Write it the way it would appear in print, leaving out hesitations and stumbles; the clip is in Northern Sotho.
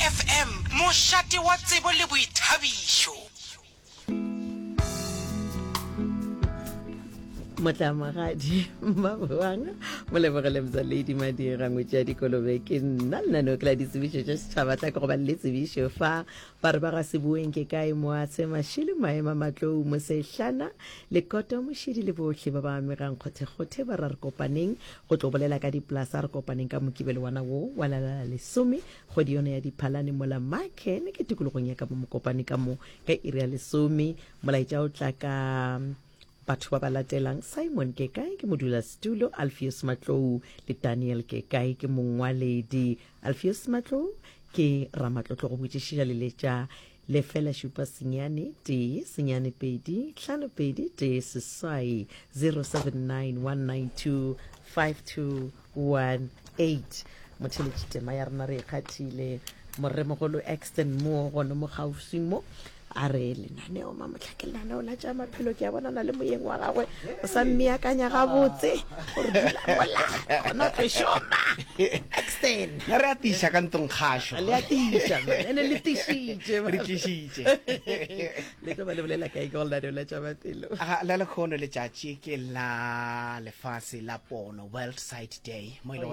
FM, mošate wa tsebo le boithabišo. Motlamagadi Mmaboang Molebogele Mza Lady Madira ngwetši ya dikolobe ke nna lenaneo ke la ditsebišo tša setšhaba tla ke go ba le tsebišo fa ba re ba ga seboeng ke kae moatshe mašile maema matlou mosehlana lekoto mošidi le bohle ba ba amegang kgothekgothe ba ra re kopaneng go tlo bolela ka dipolasa re kopaneng ka mokibelo wana wo wa la la lesome kgwedi yona ya diphalane mola marken ke tikologong ya ka mo mokopane ka mo ka iri ya lesome molaetša o tla ka batho ba ba latelang simon kekae ke modulasetulo alfios matlou le daniel kekae ke mongwaledi alfios matlou ke ramatlotlo go botšišiša leletša lefela šupa senyane tee senyane pedi hlano pedi tee seswai 079 192 5218 motheletši tema ya rena re e kgathile moremogolo exton mo gone mo kgaufsi mo a re lenaneo mamotlha ke lenaneo la tša maphelo ke a bonana le moyeng wa gagwe o sa mmeakanya gabotse gore dula mola gona o tlo šoma exton Na re a tiša ka ntlong kgašo. le a tiša man. ene le tišitše man. Re tlišitše. le tlo ba le bolela kae ke go lenaneo la tša maphelo Aga, la lekgono letšatši ke la lefase la pono, World Sight Day, mo e le gore.